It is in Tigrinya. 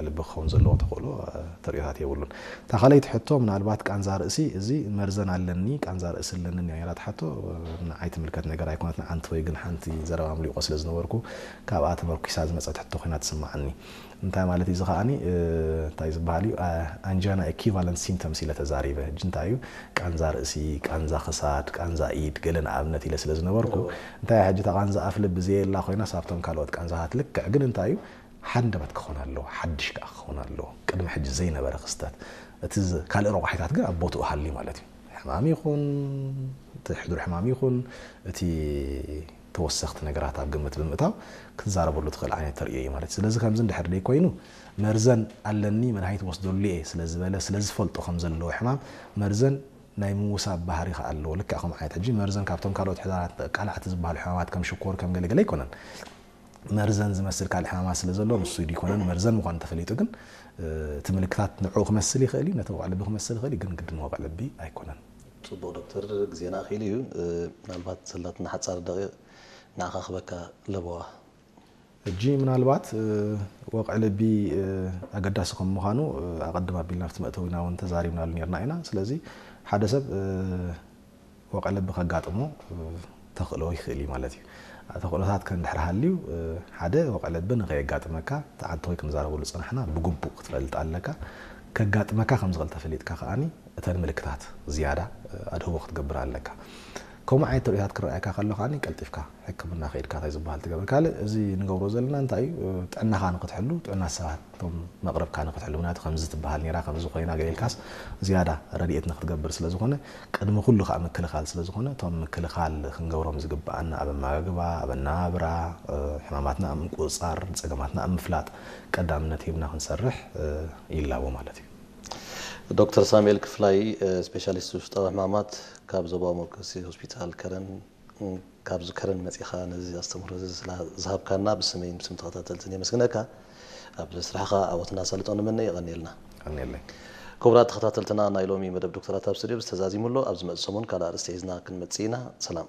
ልቢ ክኸውን ዘለዎ ተኽእሎ ተርእዮታት የብሉን። እታ ካልኣይቲ ሕቶ ምናልባት ቃንዛ ርእሲ፣ እዚ መርዘን ኣለኒ ቃንዛ ርእሲ ኣለኒ ነይራ ትሓቶ። ንዓይ ትምልከት ነገር ኣይኮነትን። ኣንቲ ወይ ግን ሓንቲ ዘረባ ምልቆ ስለ ዝነበርኩ ካብኣ ተመርኩሳ ዝመፀት ሕቶ ኮይና ትስማዓኒ። እንታይ ማለት እዩ እዚ ከዓኒ እንታይ ዝበሃል እዩ? ኣንጃና equivalent symptoms ኢለ ተዛሪበ። ሕጂ እንታይ እዩ? ቃንዛ ርእሲ፣ ቃንዛ ክሳድ፣ ቃንዛ ኢድ ገለ ንኣብነት ኢለ ስለ ዝነበርኩ እንታይ ሕጂ እታ ቃንዛ ኣፍ ልቢ ዘየላ ኮይና ሳብቶም ካልኦት ቃንዛታት ልክዕ ግን እንታይ እዩ? ሓንደበት ክኾን ኣለዎ፣ ሓድሽ ከኣ ክኾን ኣለዎ። ቅድሚ ሕጂ ዘይነበረ ክስተት። እቲ ካልእ ረቋሒታት ግን ኣብ ቦትኡ ሃልዩ ማለት እዩ። ሕማም ይኹን እቲ ሕዱር ሕማም ይኹን እቲ ተወሰኽቲ ነገራት ኣብ ግምት ብምእታው ክትዛረበሉ ትኽእል ዓይነት ተርእዮ እዩ ማለት እዩ። ስለዚ ከምዚ እንድሕር ደይ ኮይኑ መርዘን ኣለኒ መድሃኒት ወስደሉ እየ ስለ ዝበለ ስለ ዝፈልጦ ከም ዘለዎ ሕማም መርዘን ናይ ምውሳብ ባህሪ ከኣ ኣለዎ። ልክዕ ከም ዓይነት ሕጂ መርዘን ካብቶም ካልኦት ሕዳራት ቃላዕቲ ዝበሃሉ ሕማማት ከም ሽኮር ከም ገለገለ ኣይኮነን። መርዘን ዝመስል ካልእ ሕማማት ስለ ዘሎ ንሱ ዲኮነን መርዘን ምዃኑ ተፈሊጡ ግን እቲ ምልክታት ንዕኡ ክመስል ይኽእል እዩ፣ ነቲ ወቕዒ ልቢ ክመስል ይኽእል እዩ፣ ግን ግድን ወቕዒ ልቢ ኣይኮነን። ጽቡቕ ዶክተር፣ ግዜና ኣኺሉ እዩ። ምናልባት ዘላትና ሓጻር ደቂቕ ንዓኻ ክበካ ለበዋ። ሕጂ ምናልባት ወቕዒ ልቢ ኣገዳሲ ከም ምዃኑ ኣቐድም ኣቢልና ኣብቲ መእተዊና እውን ተዛሪብናሉ ነርና ኢና። ስለዚ ሓደ ሰብ ወቕዒ ልቢ ከጋጥሞ ተኽእሎ ይኽእል እዩ ማለት እዩ። ተኽእሎታት ከ እንድሕር ሃልዩ ሓደ ወቕዒ ልቢ ንኸየጋጥመካ እቲ ዓዲ ወይ ክንዛረበሉ ዝጸናሕና ብግቡእ ክትፈልጥ ኣለካ። ከጋጥመካ ከም ዝኽእል ተፈሊጥካ ከኣ እተን ምልክታት ዝያዳ ኣድህቦ ክትገብር ኣለካ። ከምኡ ዓይነት ተርእዮታት ክረኣየካ ከሎ ከኣ ቀልጢፍካ ሕክምና ከይድካ እንታይ ዝበሃል ትገብር። ካልእ እዚ ንገብሮ ዘለና እንታይ እዩ ጥዕናኻ ንክትሕሉ ጥዕና ሰባት እቶም መቕረብካ ንክትሕሉ ምክንያቱ ከምዚ ትበሃል ነራ ከምዚ ኮይና ገለ ኢልካስ ዝያዳ ረድኤት ንክትገብር ስለ ዝኾነ ቅድሚ ኩሉ ከዓ ምክልኻል ስለ ዝኾነ እቶም ምክልኻል ክንገብሮም ዝግበኣና ኣብ ኣመጋግባ ኣብ ኣነባብራ ሕማማትና ኣብ ምቁፅፃር ፀገማትና ኣብ ምፍላጥ ቀዳምነት ሂብና ክንሰርሕ ይላቦ ማለት እዩ። ዶክተር ሳሙኤል ክፍላይ ስፔሻሊስት ውሽጣዊ ሕማማት ካብ ዞባዊ መበገሲ ሆስፒታል ከረን ካብዚ ከረን መፂኻ ነዚ ኣስተምህሮ እዚ ዝሃብካና ብስመይን ብስም ተኸታተልትን የመስግነካ። ኣብ ስራሕኻ ዓወትና ሳልጦ ንመነ። የቐንየልና። ቀንየለይ። ክቡራት ተኸታተልትና ናይ ሎሚ መደብ ዶክተራት ኣብ ስቱድዮ ዝተዛዚሙ ኣሎ። ኣብ ዝመፅእ ሰሙን ካልእ ኣርእስቲ ሒዝና ክንመፅእ ኢና። ሰላም።